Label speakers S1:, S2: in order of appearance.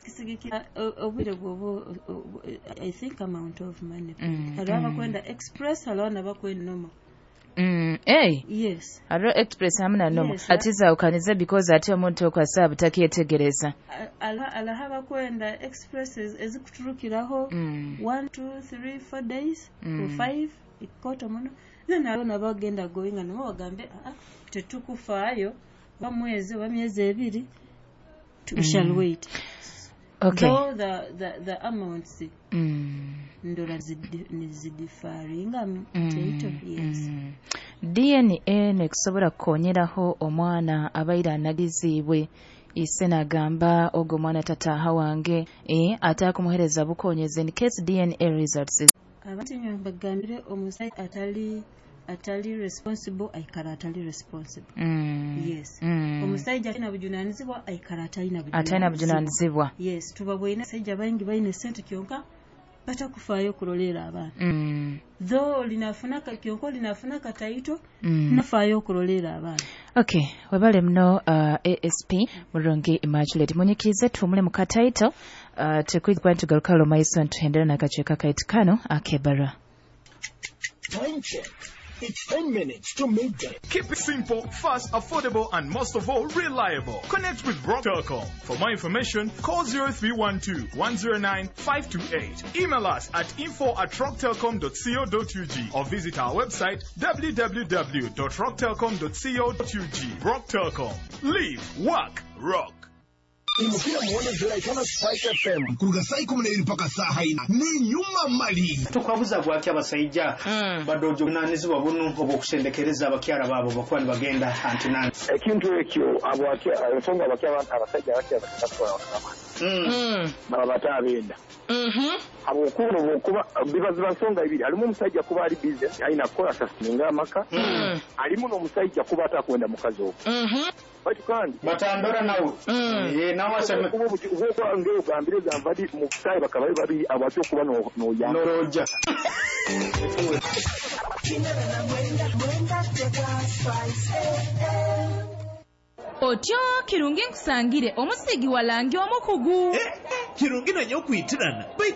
S1: Kisigikira obwire bwoba, I think, amount of money. Hariho abakwenda express, hariho nabakwenda normal.
S2: Hey.
S1: Yes.
S2: Hariho express hamwe na normal.
S1: Yes.
S2: Ati zaawukanize because ate omuntu okwasa butakyetegereza.
S1: Hariho abakwenda express ezikuturukiraho 1, 2, 3, 4 days or 5 ikoto muno. Then hariho nabagenda going nabo bagambe, "Ah, tetukufaayo, oba mwezi oba myezi 2, we shall wait." Though the amounts ndora nizidiffaringa teito, yes.
S2: DNA nekusobola kukonyeraho omwana abaire anagiziibwe, ise nagamba ogwo omwana tataaha wange, ate akumuhereza bukonyezi in case DNA results?
S1: Abantu nyowe mbagambire, omusaija atali responsible aikara atali responsible. Yes. Omusaija atalina bujunanizibwa aikara atalina.
S2: Atalina bujunanizibwa.
S1: Yes, tuba bwine abasajja baingi baine sente kyonka batakufaayo okuroleera abaana. Though olinafuna kyonka olinafuna kataito, nafaayo okuroleera abaana.
S2: Okay, webale muno, ASP Murungi Immaculate. Munyikirize tuhumule mu kataito, tukwija tugaruka maiso ntuhendera n'akacweka kaitu kano ak'ebbarwa.
S3: Time check. It's 10 minutes to midday.
S4: Keep it simple, fast, affordable, and most of all, reliable. Connect with Rock Telcom. For more information, call 0312 109 528. Email us at info@rocktelcom.co.ug or visit our website www.rocktelcom.co.ug. Rock Telcom. Live, work, rock.
S3: Imukira muone ziraikana Spice FM kuruga saa 12 mpaka saa 4 ni nyuma mali.
S5: Tukwabuza bwaki abasaija badojo bunanizibwa bunu obwokusendekereza abakyara baabo bakuba nibagenda antinani?
S6: Ekintu ekyo ensonga abasajja abakya batwala baba batabenda habwokuba obwokuba biba ziba nsonga ibiri. Halimu omusajja kuba ali busy, alina kukola sasinga amaka, halimu n'omusajja kuba atakwenda mukazi ogwo baitu kandi
S5: batandora nawe. Nawe aseme.
S6: Kuba obwokuba ng'ogambire gamba di mu kusaayi bakaba bali babiri abaki okuba n'oyamba.
S5: Noroja.
S7: Otyo Kirungi, nkusangire omusigi walangi omukugu.
S8: Kirungi nanye okwitirana.